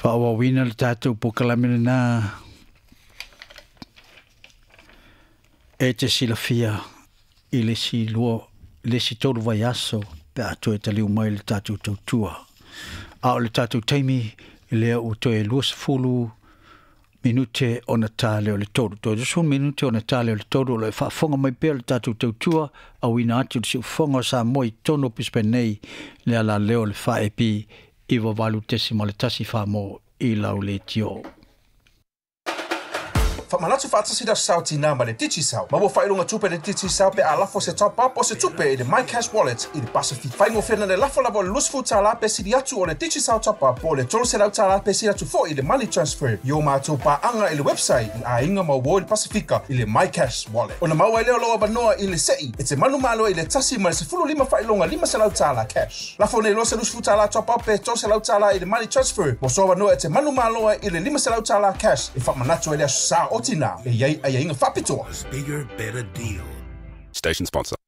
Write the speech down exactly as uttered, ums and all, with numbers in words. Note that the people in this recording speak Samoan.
Faaauauina le tatou polokalame lenā e te silafia i le isi lua le isi tolu vaiaso pe a toe taliu mai le tatou tautua. A o le tatou taimi lea ua toe luasefulu minute ona ta lea o le tolu. Toe luasefulu minute ona ta lea o le tolu o lo o faafofoga mai pea le tatou tautua auina atu le siufofoga o Samoa i totonu o Brisbane nei le alaleo o le fa A B iva valu tesima le tasi wha i lau leitio. Faamanatu faatasi le Aso Sa o Tinā ma le Digicel. Maua faailoga tupe le Digicel pe a lafo se top up o se tupe i le MyCash Wallet i le Pacific. Faigofie le lafo lava o le luasefulu tālā pe sili atu o le Digicel top up po o le tolu selau tālā pe sili atu foi i le money transfer i o matou paaga i le website i aiga ma uo i le Pasifika i le MyCash Wallet. Ona maua ai lea o lou avanoa i le sei e te manumalo i le tasi ma le sefulu lima faailoga lima selau tālā cash. Lafo nei loa se luasefulu tālā top up pe tolu selau tālā i le money transfer mo so avanoa e te manumalo i le lima selau tālā cash e faamanatu ai le Aso Sa o Tinā e iai aiaiga faapitoa. Bigger, better deal. Station sponsor.